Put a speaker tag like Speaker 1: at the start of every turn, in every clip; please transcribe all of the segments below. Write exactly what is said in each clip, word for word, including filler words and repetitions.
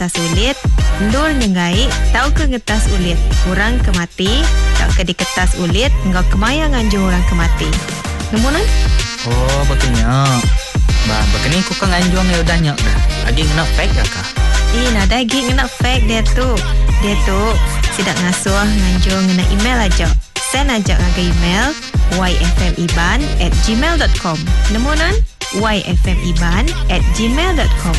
Speaker 1: ngetas ulit, endur nyenggai tauka ngetas ulit orang ke mati tauka diketas ulit enggau kemaya nganjung orang ke mati. Nemu nan?
Speaker 2: Oh, bakanya. Ba, bakani ku ka nganjung ya udah nya dah. Agi ngena fax kah?
Speaker 1: Eh, nadai agi ngena fax dia tu. Dia tu sidak ngasuh nganjung ngena email aja. Send aja ngagai email yfmiban at gmail dot com. Nemu nan? yfmiban at gmail dot com.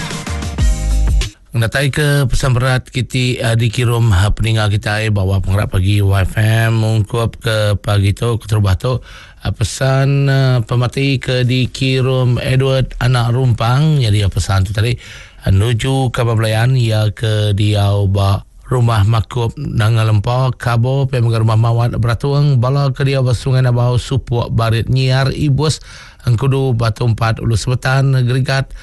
Speaker 3: Datai ke pesan berat kita uh, dikirim uh, peninggal kita bawa penggerak pagi Y F M ungkup ke pagi tu keterubah tu uh, pesan uh, pemati ke dikirim Edward anak Rumpang. Jadi uh, pesan tu tadi uh, nuju ke Belayan ia ke diau ba rumah Makup Nanga Lempa Kabo pe rumah Mawat Beratuang bala ke diau ba Sungai Nabau Supuk Barit Nyiar Ibus Engkudu Batu Empat Ulu Sebetan Gerigat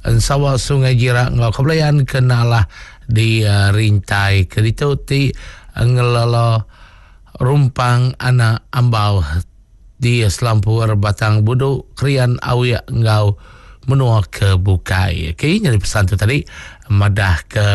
Speaker 3: Ensawa Sungai Jirak ngau Kebelayan kenalah di uh, rintai keditu ti ngelala Rumpang anak Ambau di Selampur Batang Budu Krian Awiak ngau menua ke Bukai. Okey, jadi pesan tu tadi madah ke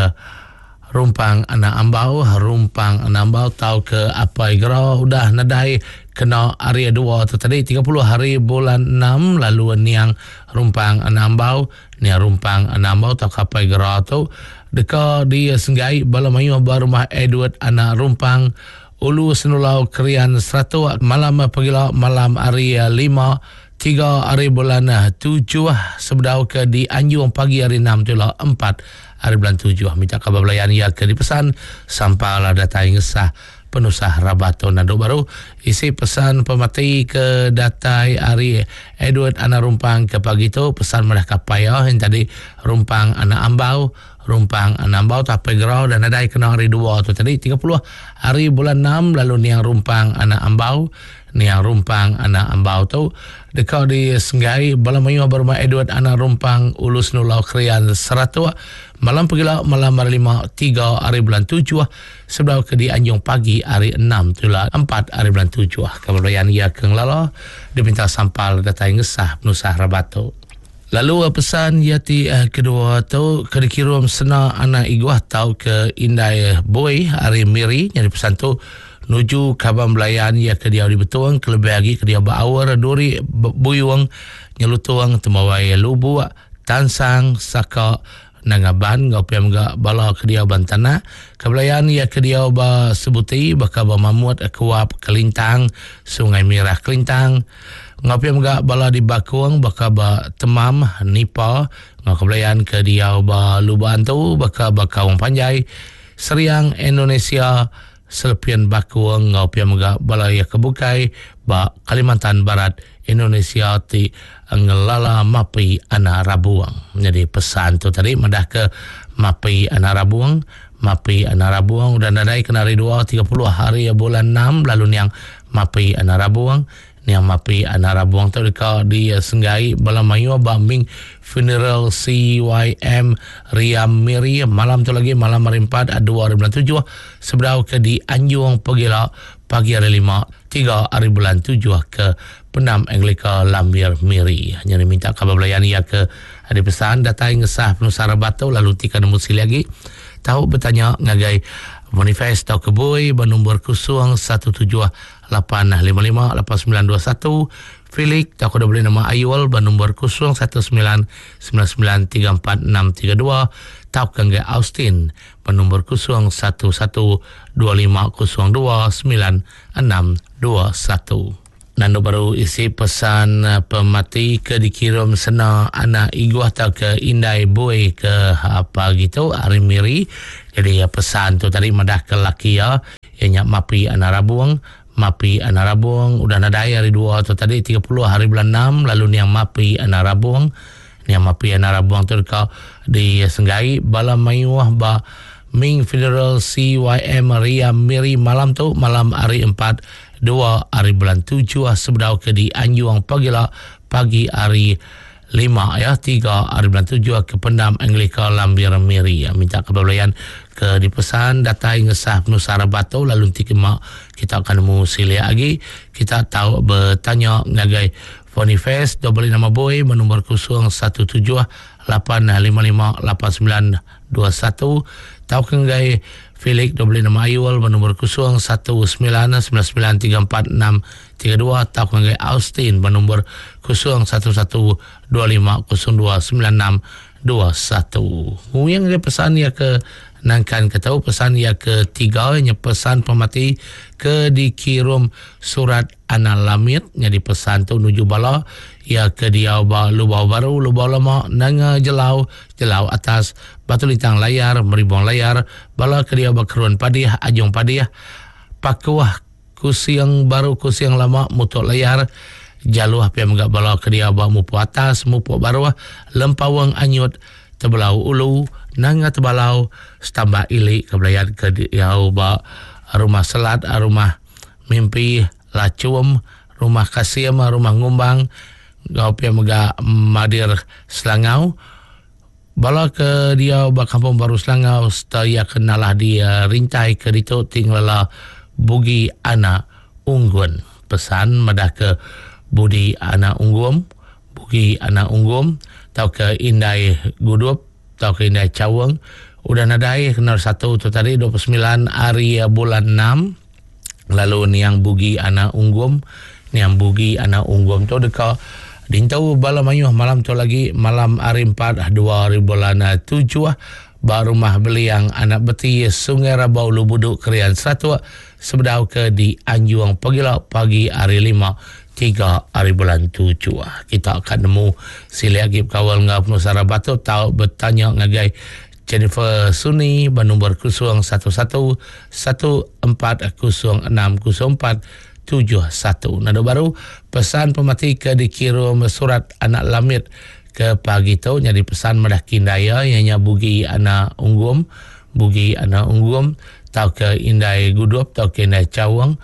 Speaker 3: Rumpang anak Ambau, Rumpang anak Ambau tau ke apai gera udah nadai kena hari dua tu tadi tiga puluh hari bulan enam lalu niang Rumpang anak Ambau, niang Rumpang anak Ambau tau ke apai gera tu deka di Senggai bala mayuh ba rumah Edward anak Rumpang Ulu Senulau Krian Seratuk malam pagila malam hari lima tiga hari bulan tujuh sebedau ke di Anjung pagi hari enam tu lah empat hari bulan tujuh. Minta khabar belayan ia ke dipesan sampailah datai ngesah penusah rabato nanduk baru isi pesan pemati ke datai hari Edward anak Rumpang ke pagi tu pesan madah kapaya yang tadi Rumpang anak Ambau, Rumpang anak Ambau tapi gerau dan nadai kena hari dua tu tadi tiga puluh hari bulan enam lalu niang Rumpang anak Ambau, niang Rumpang anak Ambau tu dekat di Senggai bala mayuh berumah Edward anak Rumpang Ulu Senulau Krian Seratuk malam pagila malam hari lima tiga hari bulan tujuh sebelum ke di Anjung pagi hari enam tu lah empat hari bulan tujuh. Kemudian ia ke ngelala diminta sampal datai ngesah penusah rabatu. Lalu pesan ia ti eh, kedua tu ke dikirim sena anak iguah tau ke Indai Boy hari Miri. Jadi pesan tu nuju kaban belayan ia ke dia di Betuang kelebih lagi ke dia baawar duri buyung nyelutuang temawai lubuk tansang saka nangaban ngau piam ga bala ke dia bantana kebelayan ia ke dia ba sebuti baka ba mamut kuap Kelintang Sungai Mirah Kelintang ngau piam ga bala di Bakung baka ba Temam Nipa ngau kebelayan ke dia ba Lubuk Antu baka ba Kaung Panjai Seriang Indonesia Selepian Bakung ngau piam ga bala ia ke bukai ba Kalimantan Barat Indonesia ti ngelala mapi anak Rabuang. Jadi pesan tu tadi madah ke mapi anak Rabuang, mapi anak Rabuang udah nadai kena hari dua tiga puluh hari bulan enam lalu niang mapi anak Rabuang, niang mapi anak Rabuang tu dekat di Senggai bala mayu bambing funeral C Y M Riam Miri malam tu lagi malam hari empat dua hari bulan tujuh sebedau ke di Anjung Pegila pagi hari lima tiga hari bulan tujuh ke Penam Anglika Lambir Miri. Hanya minta khabar belayan ia ke ada pesan datai ngesah penusara batu lalu tika nemu sili lagi tahu bertanya ngagai Boniface tau keboi bernombor kosong satu tujuh lapan lima lima lapan sembilan dua satu Felix tau kau boleh nama Ayul bernombor kosong satu sembilan sembilan sembilan tiga empat enam tiga dua tau ke Austin bernombor kosong satu satu dua lima kosong dua sembilan enam dua satu. Nando baru isi pesan pemati ke dikirim sena anak iguah atau ke Indai Boy ke apa gitu hari Miri. Jadi pesan tu tadi madah ke laki ya yang mapi anak Rabuang, mapi anak Rabuang udah nadai hari dua tu tadi tiga puluh hari bulan enam lalu niang mapi anak Rabuang, niang mapi anak Rabuang tu dekat di Senggai bala mayuah ba Ming Funeral C Y M Ria Miri malam tu malam hari empat dua hari bulan tujuh sebedau ke di Anjuang pagila pagi hari lima ya tiga hari bulan tujuh ke Pendam Anglika Lambir Miri ya, minta kebelayan ke dipesan datai ngesah penusara batu lalu nanti kemak kita akan nemu silia lagi kita tahu bertanya ngagai Boniface double nama boy bernombor kosong satu tujuh lapan lima lima lapan sembilan dua satu tau ke ngagai Felix dua puluh enam Ayul bernombor kosong satu sembilan sembilan sembilan tiga empat enam tiga dua tau ke ngagai Austin bernombor kosong satu satu dua lima kosong dua sembilan enam dua satu. Nguyang dia pesan ia ke nangkan ke tahu pesan ia ketiga nya pesan pemati ke dikirim surat anak lamit nya dipesan tu nuju bala ia ke dia ba lubau baru lubau lama nanga jelau jelau atas batu lintang layar meribong layar bala ke dia ba kerun padih ajung padih pakuah kusiang baru kusiang lama mutuk layar jaluh pia mega bala ke dia ba mupu atas mupu baruh lempawang anyut tebelau ulu nanga tebalau setambah ilik ke belayan ke dia ba rumah selat rumah mimpi lacum rumah kasim rumah ngumbang gau pia mega madir Selangau bala ke dia ba kampung baru Selangau serta ia kenalah di rintai ke ditu tinggallah Bugi Anak Unggun pesan madah ke Budi Anak Unggum Bugi Anak Unggum tau ke Indai Gudup tau ke Indai Caweng udah nadai kena satu tu tadi dua puluh sembilan hari bulan enam lalu niang Bugi Anak Unggum niang Bugi Anak Unggum tu deka dintau bala mayuh malam tu lagi malam hari empat dua hari bulan tujuh ba rumah Beliang Anak Beti Sungai Rabau Lubuduk Krian Seratuk sebedau ke di Anjuang pagila pagi hari lima tiga hari bulan tujuh. Kita akan nemu sili lagi kawal ngau penusara batu tau bertanya ngagai Jennifer Suni bernombor kosong satu satu satu empat kosong enam kosong empat tujuh satu. Nado baru pesan pemati ke dikirim surat anak lamit ke pagi tu jadi pesan madah kindaya ianya Bugi Anak Unggum Bugi Anak Unggum tau ke Indai Gudup tau ke Indai Cawang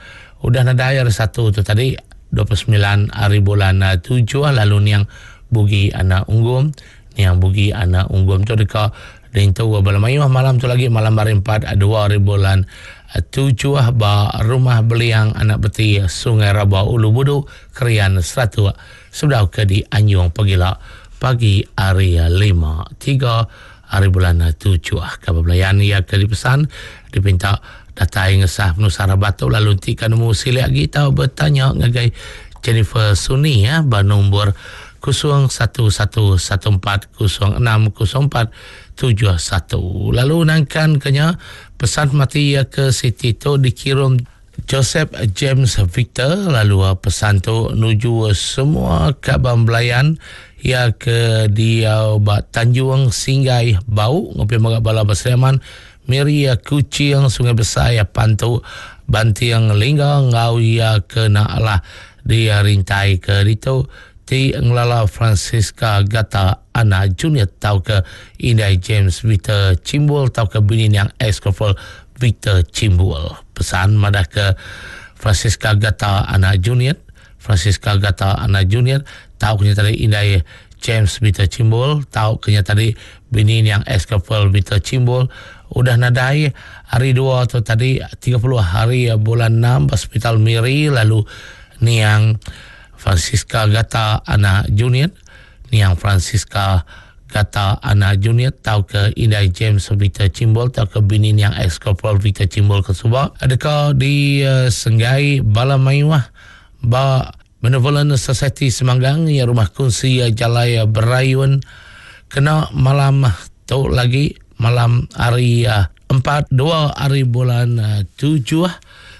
Speaker 3: udah nadai hari satu tu tadi dua puluh sembilan hari bulan tujuh lalu niang Bugi Anak Unggum niang Bugi Anak Unggum tu deka dintu bala mayuh malam tu lagi malam hari empat dua hari bulan tujuh ba rumah Beliang Anak Beti Sungai Raba Ulu Budu Krian Seratuk sebedau ke di Anjung pagila pagi hari lima tiga hari bulan tujuh. Kabar belayan ia ke dipesan dipinta datai ngesah penusara batu lalu nanti kan nemu silik lagi tau bertanya ngagai Jennifer Suni ya ba nombor kosong satu satu satu empat kosong enam kosong empat tujuh satu. Lalu nangkan kenya pesan mati ya ke Siti tu dikirim Joseph James Victor lalu pesan tu nuju semua kaban belayan ya ke dia ba Tanjung Singgai Bau ngopi magak bala Basriaman Miri Kuching Sungai Besar ya Pantu Bantiang Lingga ngau ya ke nak lah dia rintai ke ditu ti ngelala Francisca Gata Ana Junior tau ke Indai James Victor Cimbul tau ke bini yang ex-couple Victor Cimbul pesan madah ke Francisca Gata Ana Junior Francisca Gata Ana Junior tau kenya tadi Indai James Victor Cimbul tau kenya tadi bini yang ex-couple Victor Cimbul udah nadai hari dua atau tadi tiga puluh hari bulan enam hospital Miri lalu niang Francisca Gata Ana Junior niang Francisca Gata Ana Junior tau ke Indai James Victor Cimbul tau ke bini niang ex-couple Victor Cimbul ke Subak adakah di uh, Senggai Bala Mayuah ba Benevolent Society Semanggang ya rumah kunci Jalai Berayun kena malam tu lagi malam hari uh, empat dua hari bulan uh, tujuh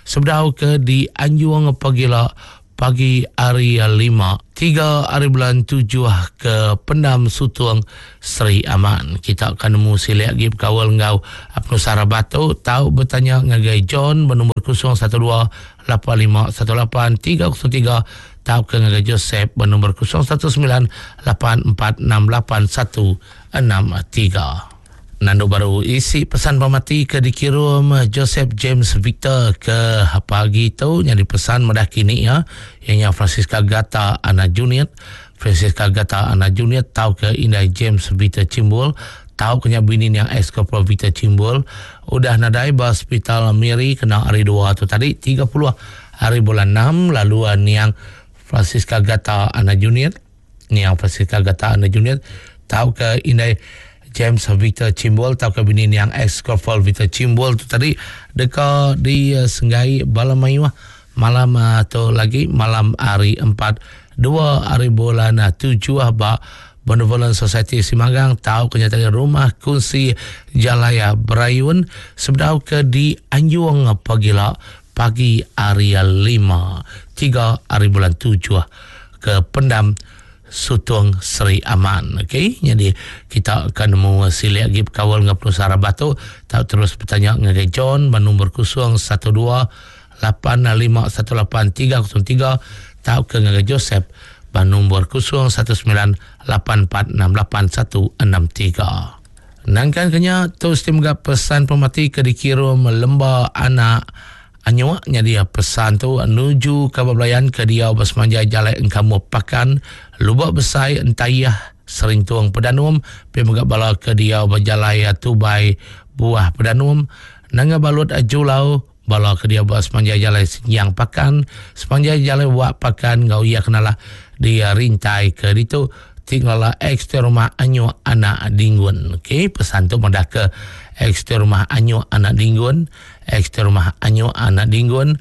Speaker 3: sebedau ke di Anjuang pagila pagi hari lima tiga hari bulan tujuh ke Pendam Sutung Seri Aman. Kita akan nemu silik lagi berkawal ngau Penusara Batu tau bertanya ngagai John bernombor kosong satu dua lapan lima satu lapan tiga kosong tiga tau ke ngagai Joseph bernombor kosong satu sembilan lapan empat enam lapan satu enam tiga. Nando baru isi pesan pemati ke dikirim Joseph James Victor ke pagi tu yang dipesan madah kini ya yang Francisca Gata Ana Junior Francisca Gata Ana Junior tau ke Indai James Victor Cimbul tau kenya bini yang ex-couple Victor Cimbul udah nadai ba hospital Miri kena hari dua tu tadi tiga puluh hari bulan enam lalu niang Francisca Gata Ana Junior niang Francisca Gata Ana Junior tau ke Indai James Victor Chimbol atau ke bini yang ex Corporal Victor Chimbol tu tadi deka di uh, Senggai bala mayuh malam uh, tu lagi malam hari empat dua hari bulan uh, tujuh ba Benevolent Society Simanggang tahu kenyataan rumah kunci Jalaya Berayun sebedau ke di Anjung pagila pagi hari lima tiga hari bulan tujuh ke Pendam Sutong Seri Aman. Okey, jadi kita akan nemu silik lagi kawal dengan Penusara Batu. Tak terus bertanya dengan John nombor kosong satu dua lapan lima satu lapan tiga kosong tiga tau ke dengan Joseph nombor kosong satu sembilan lapan empat enam lapan satu enam tiga. Nangkan kenya tu sistem pesan pemati ke dikirim lemba anak anyuak nya dia pesan tu nuju ke belayan ke dia bersemanjai jalan engkamu pakan lubak besai entayah serintung pedanum pi megak bala ke dia berjalai tubai buah pedanum nanga balut julau bala ke dia bersemanjai jalan siang pakan sepanjai jalan buat pakan ngau ia kenalah dia rintai ke ditu tinggallah ekstra rumah anyu anak dinggun. Okey, pesan tu madah ke ekstra rumah anyu anak dinggun, ekstra rumah anyu anak dinggun.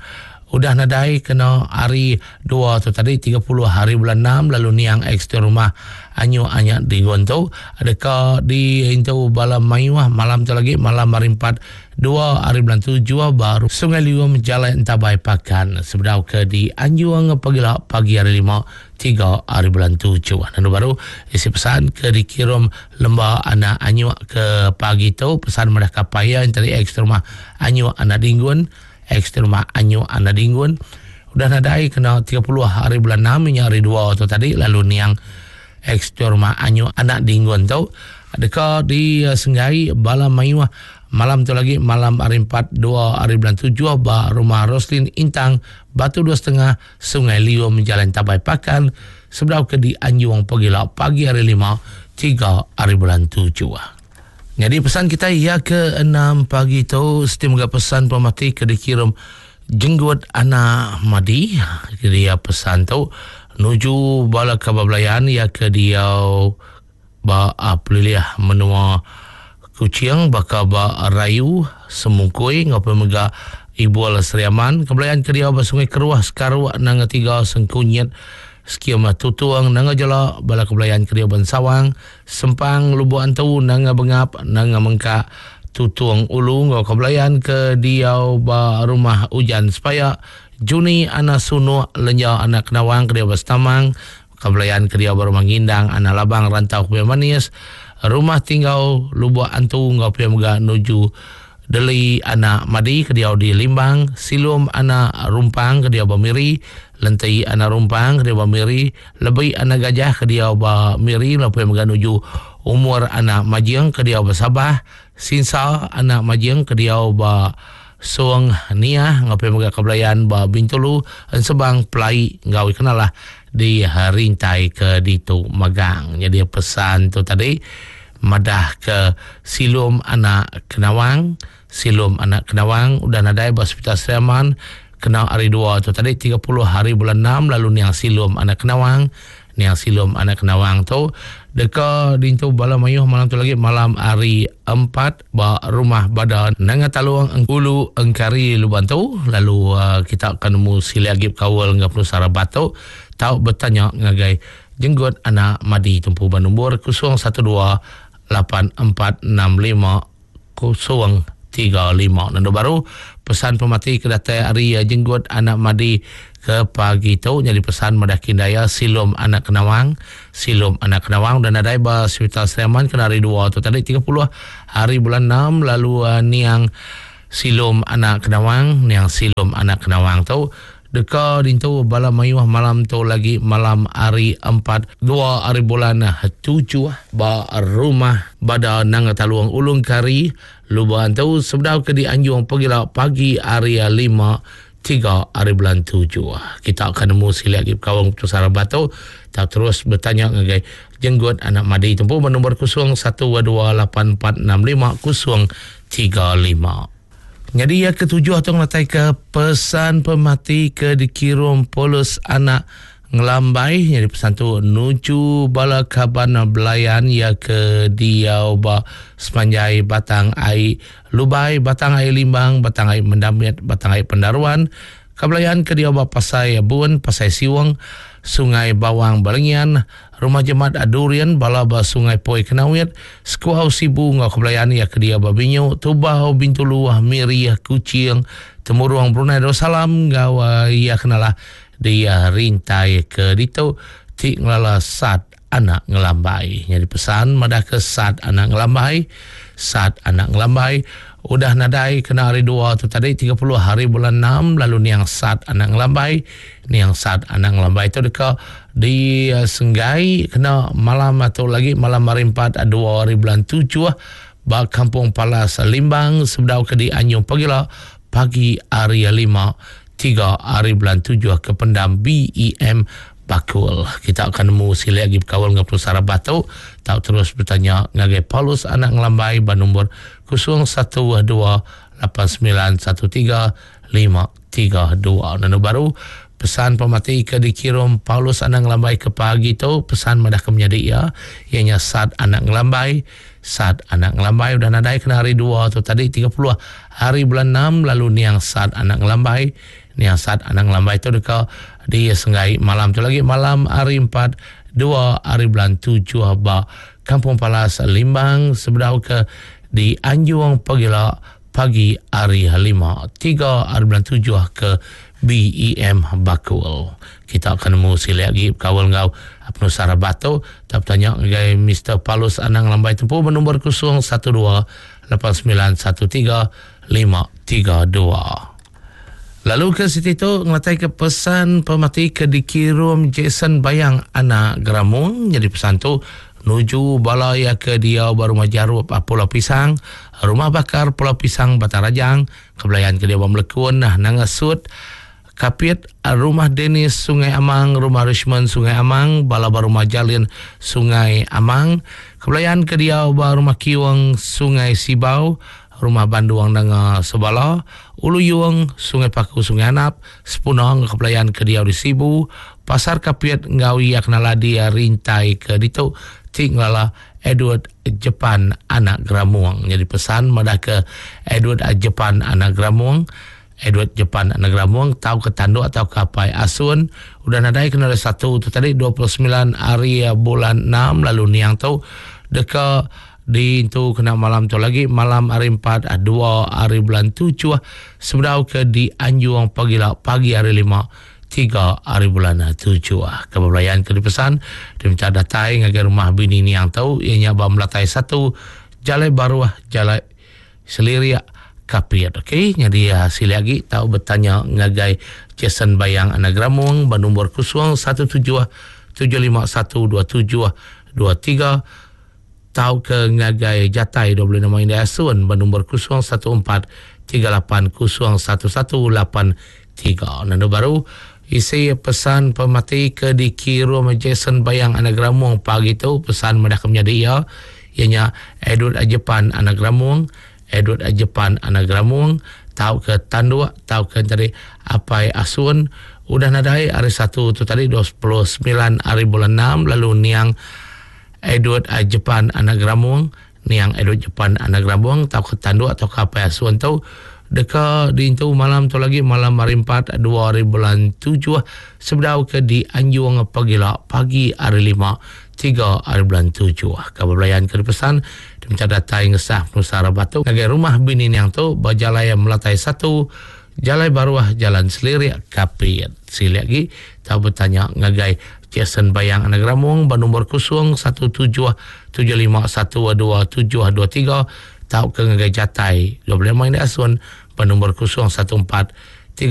Speaker 3: Udah nadai kena hari dua tu tadi tiga puluh hari bulan enam lalu niang ekstra rumah anyu anak dinggun tu adakah di into bala mayuah malam tu lagi malam hari empat dua hari bulan tujuh baru Sungai Liu jalan entabai pakan sebedau ke di Anjuang pagi pagi hari lima tiga hari bulan tujuh. Dan baru isi pesan ke dikirim lembah anak anyuk ke pagi tu pesan madah kapaya dari ekstra rumah anyuk anak dinggun ekstra rumah anyuk anak dinggun udah nadai kena tiga puluh hari bulan enam minyak hari dua tu tadi lalu niang ekstra rumah anyuk anak dinggun tu adakah di uh, Senggai bala mayuah malam tu lagi malam hari empat dua hari bulan tujuh ba rumah Roslin Intang Batu dua setengah Sungai Liu menjalan Tabai Pakan sebelah ke di Anjuang pagi pagi hari lima tiga hari bulan tujuh. Jadi pesan kita ya ke enam pagi tu setiap moga pesan pemati ke dikirim jenggot anak madi. Dia pesan tu nuju bala kabablayan ya ke dia ba peliliah menua Kucing bakal ba rayu semungkui ngapa mega ibu ala Seriaman kebelayan ke dia ba Sungai Keruah Sekaruak nanga tiga Sengkunyit sekiam tutuang nanga jala bala kebelayan ke dia ban Sawang Sempang Lubuk Antu nanga Bengap nanga Mengkak Tutuang Ulu ngau kebelayan ke dia ba rumah Ujan Sepaya Juni anak Sunuk Lenya anak Kenawang ke dia ba Setamang kebelayan ke dia ba rumah Ngindang anak Labang Rantau Kuih Manis rumah tinggal Lubuk Antu ngau pia mega nuju Deli anak Madi ke dia di Limbang, Silum anak Rumpang ke dia ba Miri, Lentai anak Rumpang ke dia ba Miri, Lebih anak Gajah ke dia ba Miri, lalu pia mega nuju Umur anak Majiang ke dia ba Sabah, Sinsa anak Majiang ke dia ba Suang Niah, ngau pia mega kebelayan ba Bintulu, Ensebang Pelai ngau kenalah di rintai ke ditu magang. Jadi pesan tu tadi madah ke Silum anak Kenawang, Silum anak Kenawang udah nadai ba Hospital Seriaman kena hari dua tu tadi tiga puluh hari bulan enam lalu niang Silum anak Kenawang, niang Silum anak Kenawang tu deka dintu bala mayuh malam tu lagi malam hari empat ba rumah Badan Nanga Taluang Engkulu Engkari Luban tu lalu uh, kita akan nemu sili agip kawal ngah Penusara Batu tau bertanya ngagai jenggot anak Madi tumpu ban nombor kosong satu dua lapan empat enam lima kosong tiga lima. Nando baru pesan pemati ke datai hari jenggot anak Madi ke pagi tu jadi pesan madah kindaya Silum anak Kenawang, Silum anak Kenawang dan adai ba Hospital Seriaman kena hari dua tu tadi tiga puluh hari bulan enam lalu uh, niang Silum anak Kenawang, niang Silum anak Kenawang tu deka dintu bala mayuh malam tu lagi malam hari empat dua hari bulan tujuh ba rumah Bada Nanga Taluang Ulung Kari Luban tu sebedau ke di Anjung pagi pagi hari lima tiga hari bulan tujuh. Kita akan nemu sili lagi kawang Pusara Batu tak terus bertanya ngagai jenggot anak Madi tumpu nombor kosong satu dua lapan empat enam lima kosong tiga lima. Jadi yang ketujuh atau ngatai ke pesan pemati ke dikirim polos anak Ngelambai jadi pesan tu nuju bala kaban belayan ya ke diau ba sepanjai Batang Ai Lubai, Batang Ai Limbang, Batang Ai Mendamit, Batang Ai Pendaruan, kabelayan ke diau ba Pasai Bun, Pasai Siwang, Sungai Bawang Balengian, Rumah Jemat Adurian, bala ba Sungai Poi Kenawit, Sekuau Sibu ngau kebelayan ya ke diau ba Binyu, Tubau, Bintulu, Miri, Kuching, Temurung, Brunei Darussalam ngau ya kenalah dia rintai ke ditu ti ngelala Sat Anak Ngelambai. Jadi pesan madah ke Sat Anak Ngelambai, Sat Anak Ngelambai udah nadai kena hari dua tu tadi tiga puluh hari bulan enam lalu niang Sat Anak Ngelambai, niang Sat Anak Ngelambai tu deka di uh, Senggai kena malam atau lagi malam hari empat dua hari bulan tujuh ba Kampung Palas Limbang sebedau ke di Anyung Pagila pagi hari lima tiga hari bulan tujuh ke pendam B E M Bakul. Kita akan nemu sila lagi berkawal dengan Pusara Batu. Tak terus bertanya ngagai Paulus Anak Ngelambai ba nombor kosong satu dua lapan sembilan satu tiga lima tiga dua. Nanu baru pesan pemati ke dikirim Paulus Anak Ngelambai ke pagi tu pesan madah ke menyadi ya ianya Sat Anak Ngelambai. Sat Anak Ngelambai udah nadai kena hari dua tu tadi tiga puluh hari bulan enam lalu niang Sat Anak Ngelambai, niang Sat Anak Ngelambai tu deka di Senggai malam tu lagi malam hari empat dua hari bulan tujuh ba Kampung Palas Limbang sebedau ke di Anjung Pagila pagi hari lima tiga hari bulan tujuh ke B E M Bakul. Kita akan nemu sila lagi berkawal ngau Penusara Batu. Tak bertanya ngagai Mister Paulus Anak Ngelambai tempuh bernombor kosong satu dua lapan sembilan satu tiga lima tiga dua. Lalu ke situ tu ngelatai ke pesan pemati ke dikirim Jason Bayang Anak Geramung. Jadi pesan tu nuju bala ya ke dia baru majarup Pulau Pisang, Rumah Bakar Pulau Pisang Batarajang, kebelayan ke dia Melekun nah Nangasut, Kapit, Rumah Dennis Sungai Amang, Rumah Richmond Sungai Amang, bala baru Majalin Sungai Amang, kebelayan ke dia baru Rumah Kiwang Sungai Sibau, Rumah Banduang Nanga Sebala, Ulu Yuang, Sungai Paku Sungai Anap, Sepunong kebelayan ke dia di Sibu, Pasar Kapit Ngawi Aknaladi Rintai ke ditu Tinglala Edward Jepan Anak Geramuang. Jadi pesan madah ke Edward Jepan Anak Geramuang, Edward Jepan Anak Geramuang tahu ke tanduk atau ke apai asun udah nadai kena ada satu tu tadi dua puluh sembilan hari bulan enam lalu niang tu deka di tu kena malam tu lagi malam hari empat dua hari bulan tujuh sebedau ke di Anjung Pagila pagi hari lima tiga hari bulan tujuh. Kebelayaan ke dipesan diminta datai ngagai rumah bini niang tu ianya ba Melatai satu Jalai Baruah Jalai Seliria Kapit. Okey, jadi hasil lagi tahu bertanya ngagai Jason Bayang Anak Gramung ba nombor kosong satu tujuh tujuh lima satu dua tujuh dua tiga tahu ke ngagai Jatai dua puluh enam Indah Asun ba nombor kosong satu empat tiga lapan kosong satu satu lapan tiga. Nando baru isi pesan pemati ke dikirim Jason Bayang Anak Gramung pagi tu pesan madah ke menjadi ia ianya Edward Jepan Anak Gramung, Edward Jepan Anak Gramung tahu ke tanduk tahu ke tadi apai asun udah nadai hari satu tu tadi dua puluh sembilan hari bulan enam lalu niang Edward Jepan Anak Gramung, niang Edward Jepan Anak Gramung tahu ke tanduk atau ke apai asun tu deka diintu malam tu lagi malam hari empat dua hari bulan tujuh sebedau ke di Anjung Pagila pagi hari lima tiga hari bulan tujuh. Kabar belayan ke dipesan diminta datai ngesah Nusara Batu ngagai rumah bini niang tu berjalai Melatai satu Jalai Baruah Jalan Selirik Kapit. Sili lagi tahu bertanya ngagai Jason Bayang Anak Gramung ba nombor kosong satu tujuh tujuh lima satu dua tujuh dua tiga tahu ke ngagai Jatai dua puluh lima Indah Asun ba nombor kosong satu empat